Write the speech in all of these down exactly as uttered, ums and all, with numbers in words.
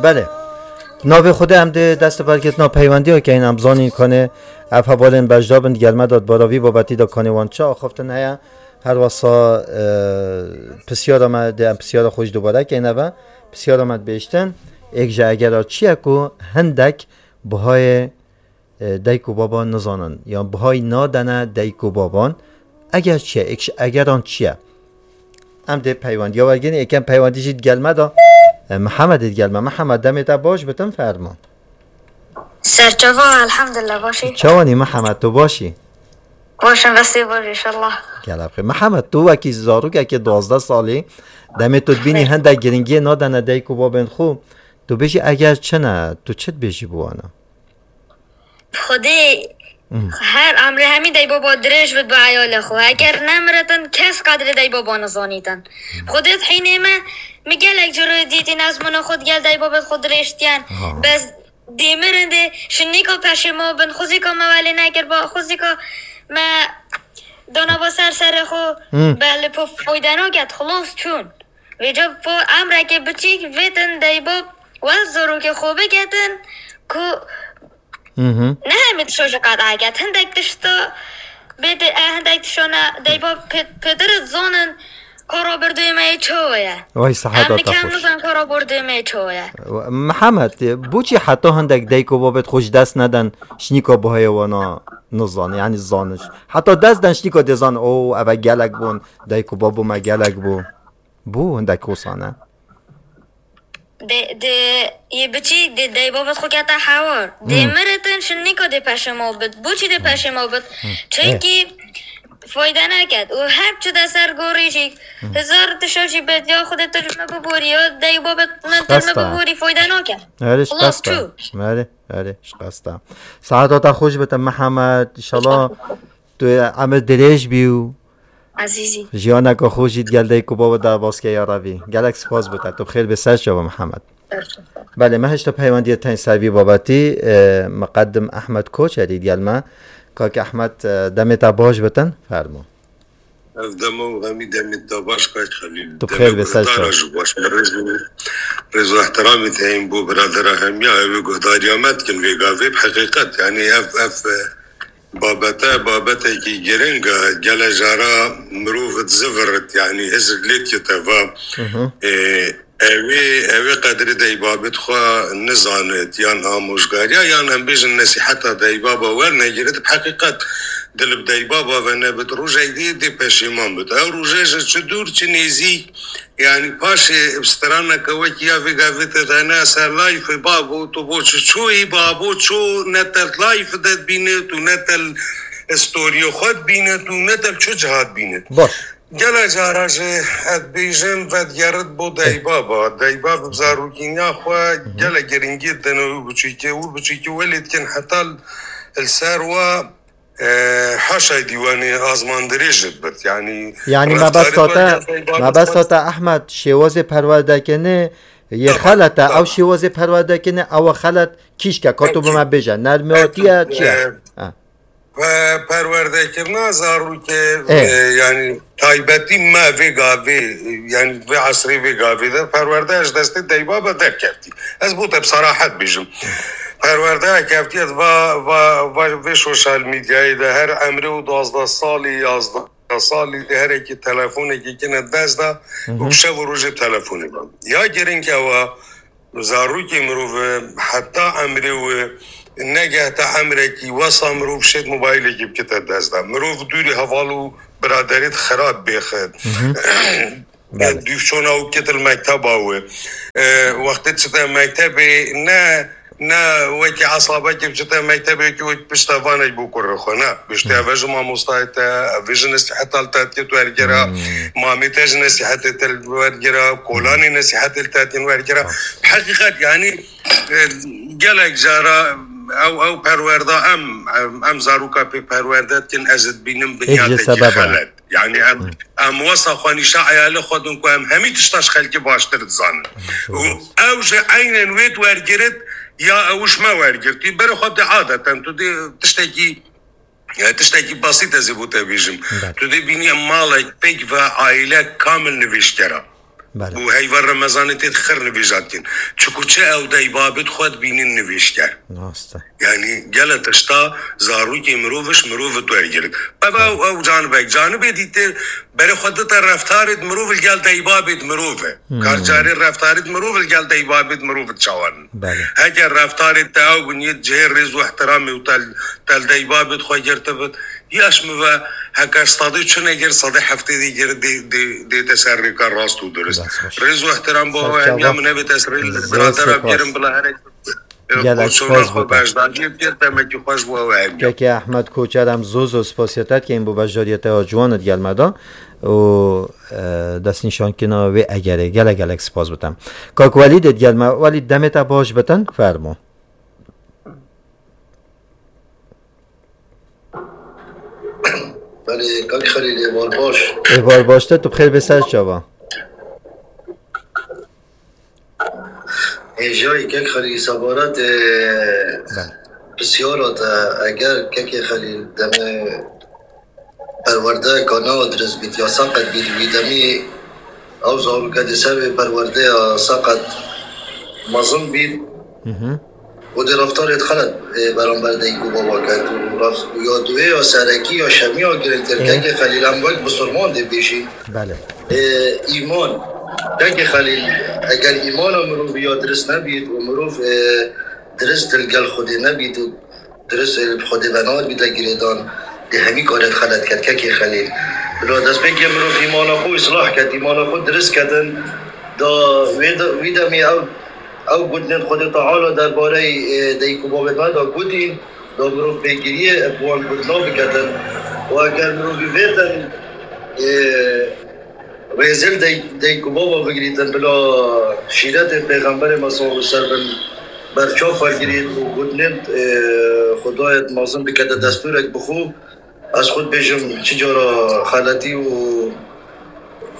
Belê. Navê Xwedê em dê dest û berketina peywendiya keyin em zanîn kanê ev hevalên beşdar bin digel me de di bara vî babetî de kanê wan çi axaftin heye. Her wesa, e, pisyara me dê em pisyara xwe jî dubare keyne ve. Pisyara me dibêjtin, êk ji egera çi ye ku hindek bihayê, e, dayik û baba nizanin, yan bihayî nadene dayik û baban, eger çi ye, êk ji egeran çi ye? Em dê peywendiya wergirin, êkem peywendî jî digel me de, e, Mihemed ê digel me. Mihemed, demê te baş bitin, fermo. Serçava, elhamdülillah, başî. Çawanî Mihemed, tu başî? Başim, vestê baş, inşallah. Gelek xêr. Mihemed, tu wekî zarokekê duwazdeh salî, demê tu dibînî hindek giringiyê nadene dayik û babên xwe, tu bêjî eger çi ne, tu çi dibêjî bi wana? Xwedê Hmm. her emrê hemî daybaba dirêj bit bi eyalê xwe. Eger nemiritin, kes qedrê daybaba nizanîtin. Xwedê di hînê me, min gelek ciro dîtîn ezmûna xwe digel daybabê xwe dirêj diyen. Ha. Bes dê mirin dê şinîka peşê me bin, xwezîka me welê nekir ba, xwezîka me dana ba ser serê xwe, Hmm. be li po foyde naket, xilos çûn. Vêca po emrekê biçîk vêtin daybab wel zarokê xwe biketin ku Mhm. Ne hemî tişo ji qet eket. Hindek tişta bê de, e, hindek tişo ne, deyba pê-, pêdir dizanin kara berdê me yê çawa ye. Vay, seheta Em te nikem xweş. Nizan kara berdê me yê çawa ye. Mihemed, boçî heta hindek dayik û babet xwe ji dest neden şinîka bihayê wana nizan, yanî zaniş. Heta dest den şinîka dê zan, o, eve gelek bûn, dayik û babo me gelek bû. Bû hindek wisa ne? De, de, yê biçî, de, dê babet xwe kete hewar. De Hmm. miritin şinîka de peşema bit. Boçî de peşema bit. Çünkü fayda neket. Û her çi de ser gorî jî. Hezar tişa jî bet ya Xwedê tu ji me biborî, ya dê babet min tu ji me Şikesta. Biborî, fayda nake. Erê, Xelas şikesta. Çû. Erê, erê, şikesta. Saeta te xweş bite, Mihemed. Înşallah tu emir dirêj bî û Ezîzî. Jiyaneke xwe jî digel dayik û baba de baske ya Rebî. Gelek spas bo te. Tu bi xêr bê ser çava Mihemed. Belê, me hişta peywendiyê tên ser vî babetî, e, miqedim Ehmed Koçerî digel me. Kak Ehmed, e, demê te baş bitin, fermo. Ev dema û hemî demê te baş, Kak Xelîl. Tu bi xêr bê ser çava. Demê guhdara jî baş. Me rêz û, rêz û ehtiramê te heyîn bo biradera hemiya, ew ê guhdariya me dikin vê gavê. Bi heqîqet, yanî ev, ev, e, Babete, babetekî giring e. Gele cara mirov dizivirit, yanî hizir lê dikete va, Hı hı. e, ew ê, ew ê qedrê deybabê xwe nizanit, yan amojgariya, yan em bêjin nesîheta deybaba wernegirit, bi heqîqet dil bi deybaba ve nebit, rojek dê, dê peşêman bit. Ew roje ji çi dûr, çi nêzîk, Yanî paşê bi straneke wekî ya vê gavê te dayne ser layfê babo, tu bo çi çûyî, babo çû, ne te layf de dibînit û ne te storiyê xwe dibînit û ne te çi ciha dibînit. Baş. Gele cara jî ez dibêjim vedigerit bo Eh. deybaba. Deybab bi zarokîniya xwe Hı hı. gele giringî didin û biçûkê û biçûkê welê dikin heta li ser we E, haşa dîwanê azmandirêj dibit. Yanî Yanî reftarê mebesta te, wergera mebesta te Ehmed, şêwazê perwerdekirinê yê Tamam, xelet e. Ew tamam. Şêwazê perwerdekirinê ew e xelet kîşke, ka tu bi me bêje. Nermiyatiye çi ye? E, Ha. pe-, perwerdekirina zarokê, Eh. e, yanî taybetî me vê gavê, yanî vê esrê vê gavê de perwerde ji destê deyba be derkevtî. Ez bo te bi serahet bêjim. Perwerdeya kevtî ez va, va, va vê sosyal medyayê de her emrê û duwazdeh salî, yazdeh salî de herekî telefonekî kine dest de Hı hı. û bi şev û rojê telefonê be. Ya giring ew e, zarokê mirov e, heta emrê wê negehte emrekî wesa mirov şêt mobaylekî bikite dest de. Mirov dûrî heval û biraderê xirab bêxit. Hı hı. Belê. Dûvçona û kitil mekteba wê. E, wextê çite mektebê ne, ne wekî esabekî çite mektebê ki wê pişta vanek bo kurê xwe ne. Piştê Hmm. eve ji mamostayê te, eve ji nesîheta li te têt wergira, Hmm. mamê te ji nesîhetê te wergira, kolanê nesîhetê li te tên wergira. Ha. Heqîqet yanî, e, gelek cara ew, ew perwerda em, em, em zaroka pê perwerde dikin, ez dibînim Êk ji binyatekî sebeba. xelet. Yanî em, Hı. em wesa xwe nîşa eyalê xwe din ku em hemî tişta ji xelkê baştir dizanin. Hı. Û ew ji eynen wê wergirit ya ew ji me wergirtî. Berê xwe dê adeten tu dê tiştekî, ya tiştekî basît ez ê bo te bêjim. Belê. Tu dê bînî malek pêk ve aîle kamil nivîştgera. Belê. Û heyva Remezanê tê xir nivêja dikin. Çiku çi ew deybabêt xwe dibînin nivêjker. Rast e. Yanî gele tişta zarokê mirov ji mirov wergirin. Ev ew, ew canibek. Canibê dîtir berê xwe dite reftarê di mirov li gel deybabê di mirov e. Hmm. Kar carê reftarê di mirov li gel deybabê di mirov diçawanin. Belê. Heger reftarê te ew bin yê cihê rêz û ihtiramê û tel, tel deybabê xwe girtibit, yaş mi ve heker sadê çi negir, sadê heftê dê gir dê, dê, dê te ser rêka rast û durist. Dest xweş. Rêz û ihtiram bo ew hemiya min nebê te rê li biratera bigirin bila herek. Gelek spas bo te. Beşdariyê pêr demekî xweş bo ew hemiya. Keke Ehmed Koçer, em zû zû spasiya te dikeyin bo beşdariyê te ya ciwan di gel me de û, e, destnîşankirina wê egerê. Gelek gelek spas bo te. Kak Welîd ê di gel me. Welîd, demê te baş bitin, fermo. Belê, Kak Xelîl, êvar baş. Êvar baş te, tu bi xêr bê ser çava. Hêjayî Kek Xelîl, sebaret, e, Belê. Pisyara te, eger Kekê Xelîl demê perwerdeyeka ne dirist bît ya seqet bît, wî demî ew zaroke di ser vê perwerdeya seqet mezin bît. Hı hı. Û dê reftarê xelet, e, beramber dayik û baba ket û ref-, ya duwê ya serekî ya şemiya girîngtir. Ê. Kekê Xelîl, em wek bisurman dê bêjîn. Belê. E, îman. Kekê Xelîl, eger îmana mirovî ya dirist nebît û mirov, e, dirist li gel Xwedê nebît û dirist, e, bi Xwedê ve nabîte girêdan, dê hemî karê xelet ket, Kekê Xelîl. Bila destpêkê mirov îmana xwe îslah ket, îmana xwe dirist ketin, da wê de, wî demê ew, ew gotinên Xwedê Teala derbarey, e, dayik û bavê me de gotîn, da mirov pêgiriyê bi wan gotina biketin. Û eger mirovî vêtin, e, rêzê li dey-, dayik û bava bigirîtin, bila şîretê Pêxemberê me sallallahu aleyhi ve sellem berçav wergirît û gotinên, e, Xwedayê mezin bikete destûrek bi xwe, ez xwe dibêjim, çi cara xeletî û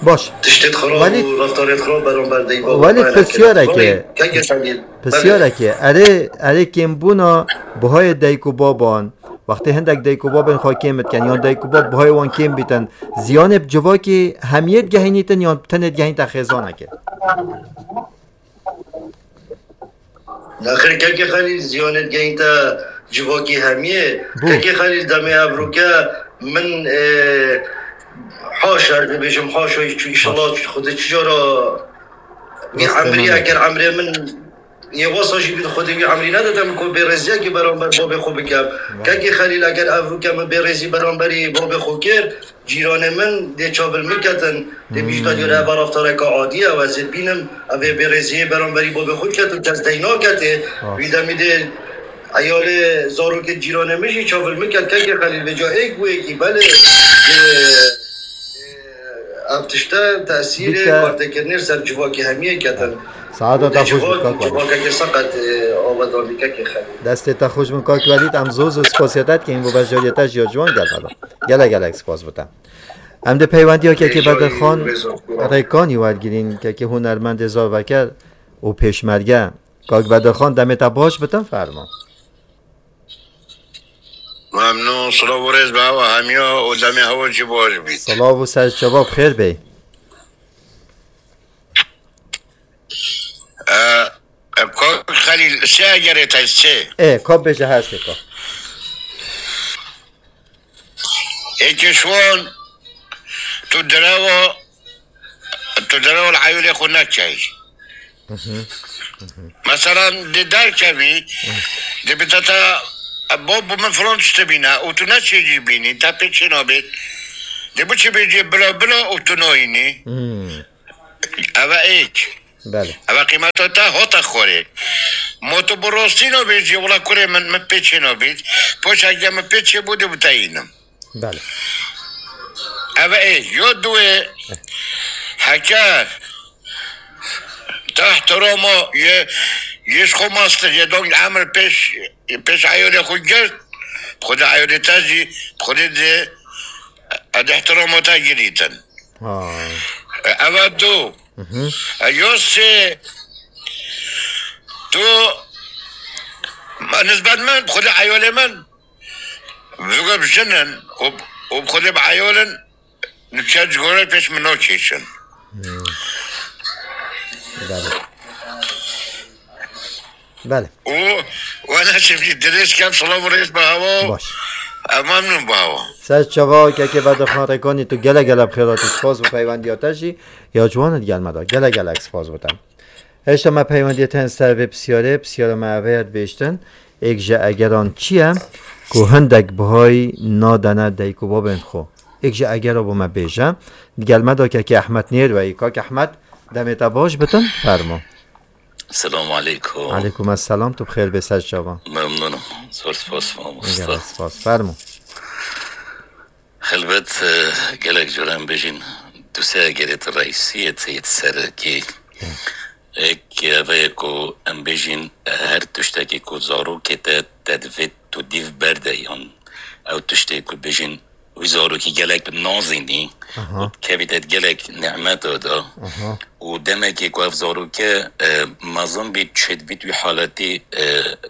Baş. Tiştê xirab Welî, û reftarê xirab beramber dayik û bava Welî me pisyareke, keke Xelîl. Belê. Pisyareke, erê, erê kêmbûna buhayê dayik û baban, wextê hindek dayik û babên xwe kêm dikin, yan dayik û bab buhayê wan kêm bîtin, ziyanê bi civakî hemiyê digehînîtin, yan tenê digehînte xêzanekê? Nexir, Kekê Xelîl, ziyanê digehînte civakî hemiyê. Bû. Kekê Xelîl, demê evroke min, e, haşa, ez dibêjim haşa, çi, înşallah, Haşa. Xwedê çi cara wî Destê emrî, me eger emrê min yê wesa jî bît, Xwedê wî emrî nedide min ku bêrêziyekî beramber babê xwe bikem. Vay. Kekê Xelîl, eger evroke min bêrêzî beramberî babê xwe kir, cîranê min dê çav li min ketin, dê bîjî Hmm. da diyore eva reftareke adî ye, ew ez ê bînim, ev ê bêrêziyê beramberî babê xwe ketin, kes dey naketê. Rast. Wî demî dê eyalê zarokê cîranê min jî çav li min ket, Kekê Xelîl, vêca êk bû êkî, belê, dê, e, ev tişte tesîrê Bike. Kartêkirinê ser civakê hemiyê ketin. Saeta Û te dê xweş bî, civak, kak Welîd. Civakekê seqet, e, avedan bî, Kekê Xelîl. Destê te xweş bin, kak Welîd, em zû zû spasiya te dikeyin bo beşdariyê te ji ya ciwan gel me de. Gelek gelek spas bo te. Em dê peywendiya kekê Bedirxan Rêkanî wergirîn, kekê hunermendê Zarveker û Pêşmerge. Kak Bedirxan, demê te baş bitin, fermo. Memnûn, silav û rêz bi hewa hemiya û demê hewa jî baş bît. Silav û ser çava bi xêr bê. E, e, Kak Xelîl, sê egerê te sê. Ê, ka bêje her sê ka. Êkê ji wan, tu derewa, tu derewa li eyalê xwe nekey. Hı hı. Hı hı. Meselan, dê derkevî, Hı. dê bi te te, bo, bo min filan tiştê bîne û tu neçê jî bînî, te pê çê nabêt. Dê biçî bêjê bila bila û tu nayînî. Hmm. Ev e êk. Belê. Ev e qîmeta te hate xwarê. Ma tu bi rastî nabêjî, wela kurê min, min pê çê nabît. Poşek de min pê çê bû, dê bi te yînim. Belê. Ev e êk. Ya duê, heker te ihtirama yê, yê ji xwe mastir, yê dong emir pêş, pêş eyalê xwe girt, Xwedê eyalê te jî, Xwedê dê, ez ihtirama te girîtin. Ha. Ev e du. Hı hı. E, ya sê, tu, nisbet min, bi Xwedê eyalê min, vêga bi jin in û, û bi Xwedê bi eyal in, nûçe ji gora pêş min nakêşin. Hmm. Belê. Belê. û we ne çiftî dirêj kem silav û rêz bi hewa. Baş. Em memnûn bi hewa. Ser çava kekê Bedirxan Rekanî, tu gelek gelek bi xêr hatî, spas bo peywendiya te jî ya ciwan e di gel me de. Gelek gelek spas bo te. Hêşta me peywendiyê te ser vê pisyarê, pisyara me eve ye dibêjtin. Êk ji egeran çi ye ku hindek bihayî nadene dayik û babên xwe? Êk ji egera bo me bêje. Di gel me de kekê Ehmed Nêr weyî. Kak Ehmed, demê te baş bitin, fermo. Selamu aleykum. Aleykum esselam, tu bi xêr bê ser çava. Memnûn im. Zor spas mamosta. Gelek spas, fermo. Helbet, e, gelek caran bêjin, du sê egerê di reîsiyê, yê di serekî. Êk eve ye ku em bêjin, e, her tiştekî ku zarokê te, te divê tu dîv berde yan ew tiştê ku bêjin wî zarokî gelek nazînî Aha. û kevî te gelek nîmeta da. Aha. Û demekê ku ev zaroke, e, mezin bît, çêdibît wî haletî, e,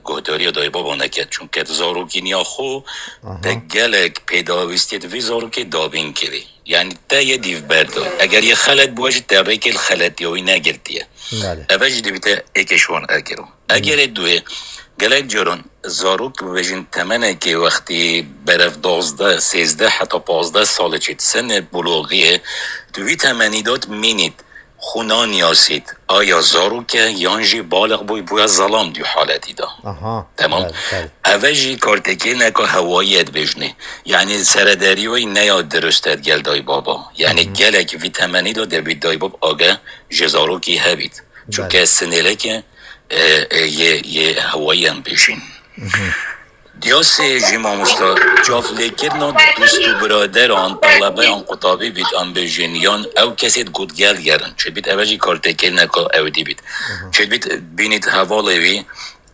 guhdariya dayî baba neket. Çunke di zarokîniya xwe Aha. te gelek pêdawîstiyê di vî zarokê dabîn kirî. Yanî te yê dîv berdo. Eger yê xelet bû jî te rêkê li xeletiya wî negirtiye. Belê. Eve jî dibîte êkê ji wan egero. Egerê duyê, gelek caran zarok bibêjin temenekê wextî berev duwazdeh, sêzdeh heta pazdeh salê çêt, senê bulogiyê, di wî temenî de mînît, xwe naniyasît, aya zarok e yan jî baliq bûy, bûye zelam di haletî de. Aha, Tamam. belê, belê. Eve jî kartekê neka hewayî ye dibêjinê. Yanî serederî wî neya dirust e gel dayî baba. Yanî Hı hı. gelek vî temenî de debît dayî bab ageh ji zarokî hebît. Çunke Belê. sinêleke, e, e, yê, yê hewayî em bêjin. Hı hı. Diyasê jî mamosta, çavlêkirina dost û biraderan, telebeyan qutabî bît em bêjin, yan ew kesê di gotgel gerin. Çêbît eve jî kartekirina ka ew dî bît. Hı hı. Çêbît bînît hevalê wî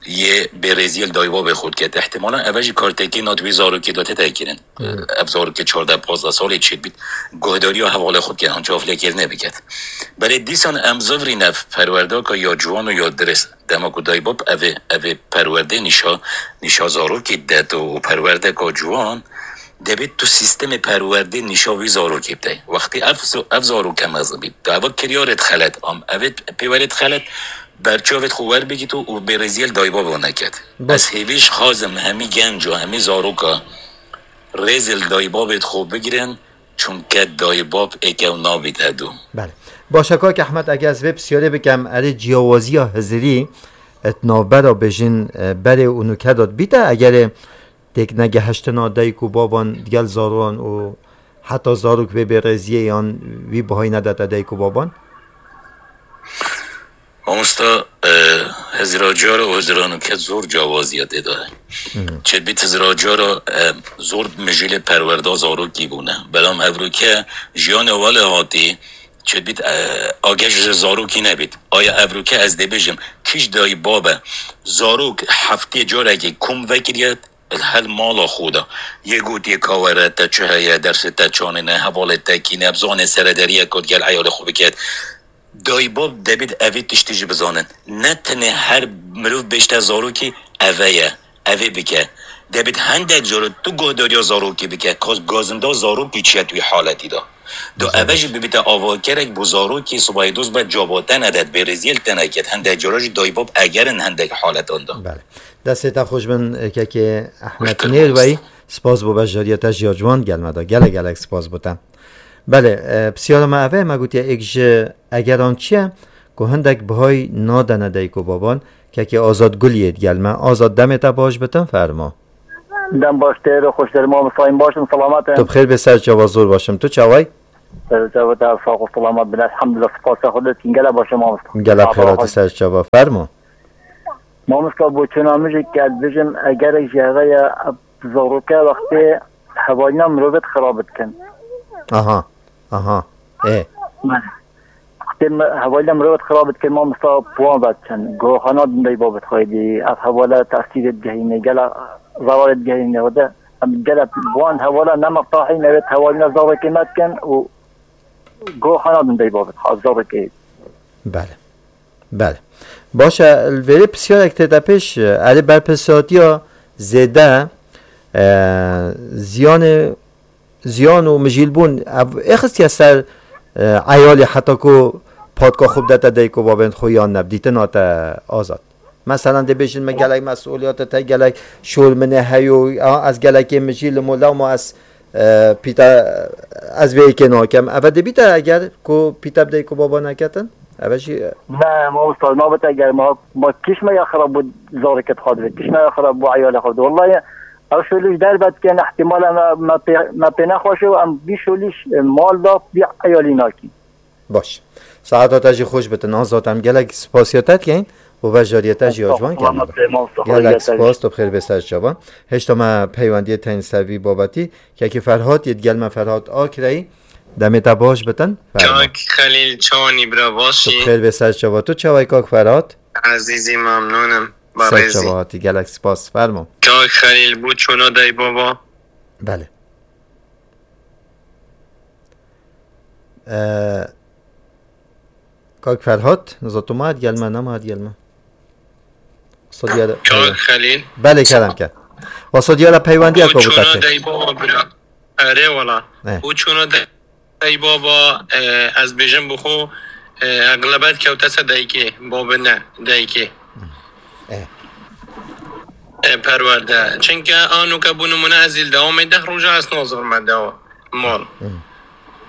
yê bêrêziyê li dayî babê xwe diket. Îhtimalan eve jî kartekirina di wî zarokê de tête kirin. Hı. Ev zarokê çardeh pazdeh salê çêbît guhdariya hevalê xwe diket, an çavlêkirine biket. Belê dîsan em zivrîne perwerdeka ya ciwan û ya dirêst. Dema ku dayî bab evê, evê perwerdê nîşa, nîşa zarokî deto û perwerdeka ciwan, debê tu sîstemê perwerdê nîşa wî zarokî bidey. Wextî ev zo-, ev zaroke mezin bî, tu eva kiryarê xelet am, evê pêwerê xelet, berçavê xwe werbigîto û bêrêziyê li dayî baba neket. Baş. Ez hêvî ji xazim hemî genc û hemî zaroka rêzê li dayî babê xwe bigirin, çunke dayî bab êk ew nabît hedo. Belê. Baş e, kak Ehmed, eger ez vê pisyarê bikem, erê ciyawaziya hizirî, et navbera bêjin, e, berê û nûke de dibîte, egerê têk negehiştina dayik û baban digel zarokan û heta zarok vê bêrêziyê yan wî bihayî nedete dayik û baban? Mamosta, e, hizira cara û hizira nûke zor ciyawaziya tê de ye. Hı. Çêdibît hizira cara, e, zor mijîlê perwerda zarokî bûne. Belam evroke jiyanê wele hatî, çêdibît, e, ageh ji zarokî nebît. Aya evroke ez dê bêjim, kîj dayî babe, zarok heftê carekê kom vekiriye, hel mala xwe de. Yê gotiye ka were, te çi heye, dersê te çanê ne, hevalê te kî ne, bizanê serederiyek gel eyalê xwe biket. Dayî bab debit evê tiştî jî bizanin. Ne tenê her mirov bêjte zarokî eve ye, evê bike. Debit hendek caro tu guhdariya zarokî bike, ka gazinda zarokî çi ye tu wî haletî de. Do Güzel. eve jî bibite avakerek bo zarokî sibayê dost be caba te nedet, bêrêziyê li te neket. Hendek cara jî dayî bab egerin hendek haletan de. Belê. Destê te xweş bin, kekê Ehmed Nêrweyî. Spas bo beşdariya te ji ya ciwan gel me de. Gelek gelek spas bo te. Belê, e, pisyara me eve, me gotiye êk ji egeran çi ye ku hindek bihayî nadene dayik û baban, kekê Azad Guliyê digel me. Azad, demê te baş bitin, fermo. Dem baş tê, ro xweş derê, mamosta, em baş in, selamet in. Tu bi xêr bê, ser çava, zor baş im. Tu çaway? Ser çava te sax û selamet bin, elhamdulillah, spas Xwedê, tîn gelek baş e, mamosta. Gelek xêr hatî, ser çava, fermo. Mamosta, bo çûna min jî ke ez bijim, egerek jî heve ye, zaroke wextê hevalîna mirovê xirab dikin. Aha, aha, ê. Wextê me-, hevalîna mirovê xirab dikin, mamosta, bi wan ve diçin. Goxana din dayî babê xwe dî, ev hevala tesîrê digehînê, gela zerarê digehînê, wede em gele bi wan hevala nemextahîn, evê hevalîna zarokê me dikin û goxana din dayî babê xwe, zarokê. Belê. Belê. Baş e, li vêrê pisyarek tê de pêş, e, erê berpirsatiya zêde, e, ziyanê, ziyan û mijîlbûn, ev êxistiye ser, e, eyalê heta ku patka xwe bidete dayik û babên xwe yan ne, bi dîtina te Azad. Meselan, dê bêjin min gelek mesuliyet te, gelek şol min ê heyo, a, ez gelekê min jî li mola ma ez, e, pîta, ez vê yekê nakem. Eve dê bîte eger ku pîta bi dayik û baba neketin? Eve jî, e, Ne, mamosta, nabit eger ma, ma kîş me ya xirab bû, zarê ke dixwazê, kîş me ya xirab bû, eyalê xwe. Wallahi, ev şolîş derbe dikin, ihtimale me, me pê, me pê nexweşe û em vî şolîş, e, mal da vî eyalî nakîn. Baş. Saeta te jî xweş bitin. Azad, em gelek spasiya te dikeyin û beşdariyê te jî ya ciwan Estağfurullah, kenê de. Mamosta, Gelek xwediyete spas, tu bi xêr bê ser çavan. Hêşta me peywendiyê tên ser vî babetî. Kekî Ferhat yê digel me, Ferhat Akreyî. Demê te baş bitin. Fermo. Kak Xelîl, çawanî bira, Tu bi başî? Xêr bê ser çava. Tu çaway kak Ferhat? Ezîzî, memnûnim. Ser Barêzî. Çava hatî. Gelek spas. Fermo. Kak Xelîl, bû çûna dayî baba? Belê. Ee, Kak Ferhat, nizatim ma digel me, nema digel me. Wesa diyara Kak Xelîl. Belê, kerem ke. Wesa diyara peywendiya Bû ku çûna bikate. Dayî baba bira. Erê wala. Eh. Bû çûna dayî baba, e, ez bêjim bi xwe, e, eglebet kewte ser dayikê, babê ne, dayikê. Eh. E, perwerde. Çinke a nûke bû nimûne ez î li dewamê deh roja ez nazirime dewa. Mal.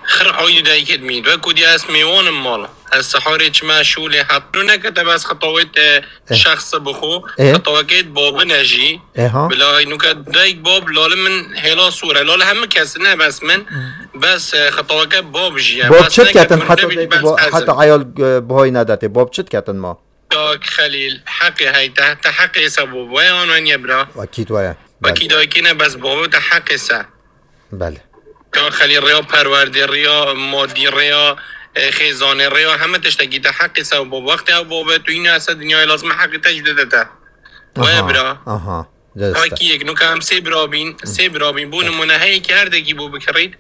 Xir aydî dayikê dimît. Wek ku diya ez mêwanim mal. Ez siharê çime şûlê hepno nekete bes xitawê te Eh. şexse bixo. Eh. Xitawekê babine jî. Eh ha. Bila nûke dayik bab lali min hêla sor e. Lali hemû kes ne bes min. Bes, e, xitaweke bab jî ye. Bab Bes çi neke diketin heta dayik bes bo-, ez heta im. Eyal, e, boy nedetê? Bab çi diketin ma? Kak Xelîl, heqê hey te, te heqê se bo. Waya an weniye bira. Akîd waya. Belê. Wekî dayikî ne bes bavê te heqê se. Belê. Ka xelî rêya perwerdê, rêya madî, rêya, e, xêzanê, rêya heme tiştekî te heqî se û bo wextê ew babet û yîna se dinyayê lazim e heqî te jî dide te. Waya Aha, bira. Aha. Derste. Wekî yek nuka em sê bira bîn, sê bira bîn. Bo nimûne heyekî her dekî bo bikirît.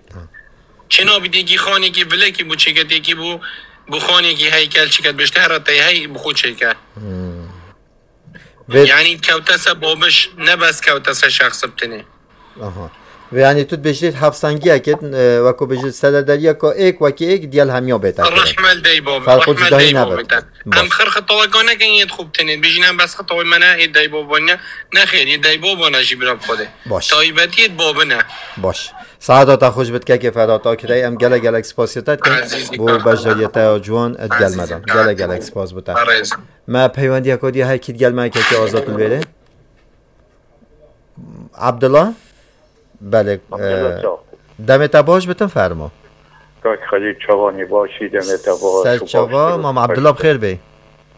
Çênabî têkî xanekî vilekî bo çêke têkî bo, bo xanekî heykel çêke dibêjte here te hey bi xwe çêke. Vê Yanî kewte se babiş, ne bes kewte se şexs bi tenê. Aha. Vê yanî tu dibêjî hevsengiyekê, e, weko bêjî seledariyeka êk wekî êk diyel hemiya bête. Rehme li dey bab, Farqo rehme li cudahî dey nebit. Bab bête. Baş. Em xir xitaweka nekin yê xwe bi tenê. Bêjî ne bes xitawê me ne, ê dey baba ne. Nexêr, yê dey baba ne jî bira bi xwe de. Baş. Taybetiyê babine. Baş. Saeta te xweş bit kekê Ferhat Akirey. Em gelek gelek spasiya te dikin. Ezîzî Bo kaka. Beşdariyê te ya ciwan et Ezîzî gelmeden. Kaka. Gelek gelek spas bite. Parêz. Me peywendiyeka diye hekî digel me kekê Azad li vêrê. Abdullah? Belê, Abdullah e, çav. Demê te baş bitin, fermo. Kak Xelîl çavanî başî, demê te baş Ser û çava, baştir û Mam Abdullah xweştir. Bixêr bê.